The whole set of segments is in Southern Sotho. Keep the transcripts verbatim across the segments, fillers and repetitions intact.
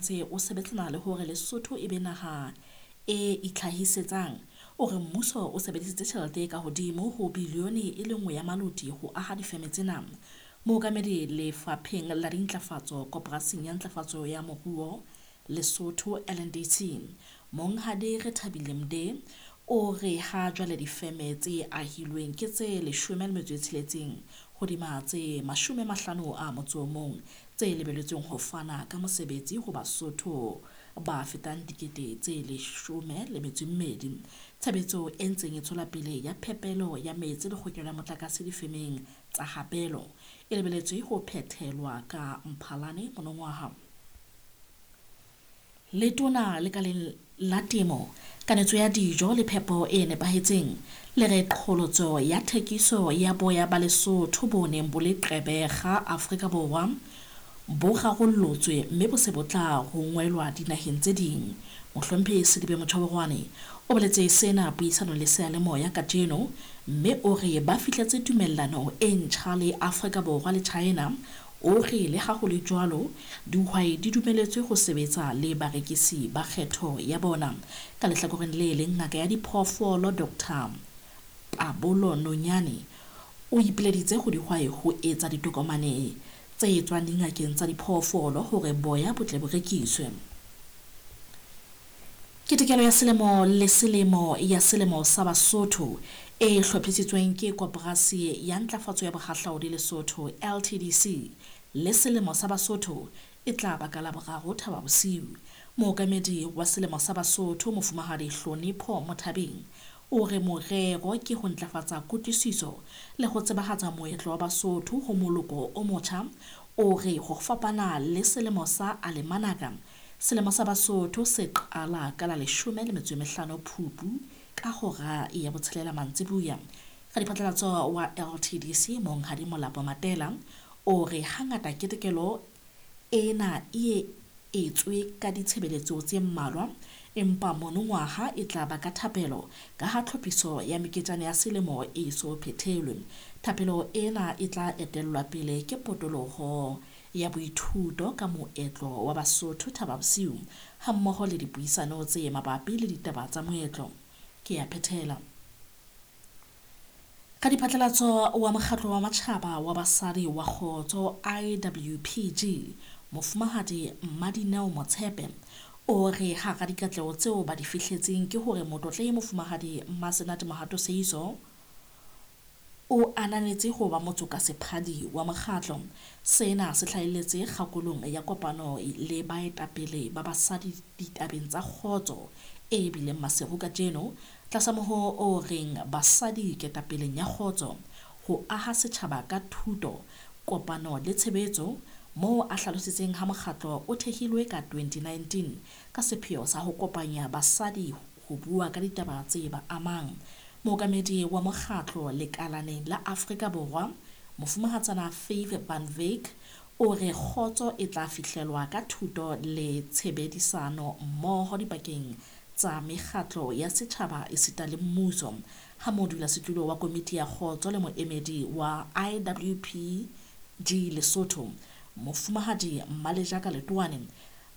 ntse o sebetsana le hore Lesotho e be naha e itlhahisetsang. O re mmuso o sebedisitse tjhelete e ka hodimo ho bilione e le nngwe ya maloti ho aha difeme tsena. Mookamedi Lefapheng la Dintlafatso Koporasing ya Ntlafatso ya Moruo Lesotho L N D C, Monghadi Rethabile Mde, o re ha jwale difeme tse ahilweng ke tse leshome le metso e tsheletseng hodima tse mashome mahlano a motso o mong tse lebelletsweng ho fana ka mosebetsi ho Basotho ba fetang dikete tse leshome le metso e mmedi. Tshebetso e ntseng e tswela pele ya phepelo ya metsi le kgokelo ya motlakase difemeng tsa Habelo e lebelletswe ho phethelwa ka Mphalane monongwaha. Letona lekaleng la temo, kanetso ya dijo le phepo e nepahetseng le re qholotso ya thekiso ya boya ba Lesotho bo neng bo le Gqeberha Afrika Borwa bo rarollotswe mme bo se bo tla rongwelwa dinaheng tse ding. Mohlomphehi Sedibe Motjhaborwane o boletse sena puisanong le seyalemoya kajeno, mme o re ba fihletse tumellano e ntjha le Afrika Borwa le China. O re le ha ho le jwalo, dihwai di dumeletswe ho sebetsa le barekisi ba kgetho ya bona. Ka lehlakoreng le leng, ngaka ya diphoofolo Doctor Pabolo Nonyane o ipileditse ho dihwai ho etsa ditokomane tse tswang dingakeng tsa diphoofolo hore boya bo tle bo rekiswe. Ketekelo ya selemo le selemo ya selemo sa Basotho e hlophisitsweng ke Koporasi ya Ntlafatso ya Bohahlaudi Lesotho L T D C le selemo sa Basotho e tla ba ka Laboraro Thaba Bosiu. Mookamedi wa selemo sa Basotho Mofumahadi Hlonipho Mothabeng o re morero ke ho ntlafatsa kutlwisiso le ho tsebahatsa moetlo wa Basotho ho moloko o motjha. O re ho fapana le selemo sa Alemanaka, selemo sa Basotho se qala ka la leshome le metso e mehlano Phupu ka hora ya botshelela mantsibuya. Radiphatlalatso wa L T D C Monghadi Molapo Matela o re hangata ketekelo ena e etswe ka ditshebeletso tse mmalwa, empa monongwaha e tla ba ka thapelo ka ha tlhophiso ya meketjana ya selemo e so phethelwe. Thapelo ena e tla etellwa pele ke potoloho ya boithuto ka moetlo wa Basotho Thaba Bosiu hammoho le dipuisano tse mabapi le ditaba tsa moetlo. Ke ya phethela. Radiphatlalatso wa Mokgatlo wa Matjhaba wa Basadi wa Kgotso I W P G Mofumahadi Mmadineo Motshepe o re hara dikatleho tseo ba di fihletseng ke hore motlotlehi Mofumahadi Mmasenate Mohato Seiso o ananetse ho ba motsokasephadi wa mokgatlo. Sena se hlahelletse kgakolong ya kopano le baetapele ba basadi ditabeng tsa kgotso e bileng Maseru kajeno tlasa mohoo o reng basadi ketapeleng ya kgotso, ho aha setjhaba ka thuto, kopano le tshebetso, moo a hlalositseng ha mokgatlo o thehilwe ka twenty nineteen ka sepheo sa ho kopanya basadi ho bua ka ditaba tse ba amang. Mookamedi wa mokgatlo lekalaneng la Afrika Borwa, Mofumahatsana Faith Van Wyk, o re kgotso e tla fihlelwa ka thuto le tshebedisano mmoho dipakeng tsa mekgatlo ya setjhaba esita le mmuso. Ha modulasetulo wa komiti ya kgotso le moemedi wa I W P G Lesotho, Mofumahadi Mmalejaka Letoane,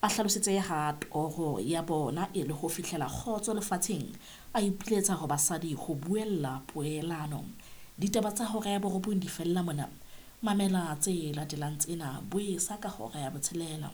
a hlalositse ha toro ya bona e le ho fihlela kgotso lefatsheng, a ipiletsa ho basadi ho buella poelano. Ditaba tsa hora ya borobong di fella mona. Mamela tse latelang tsena boesa ka hora ya botshelela.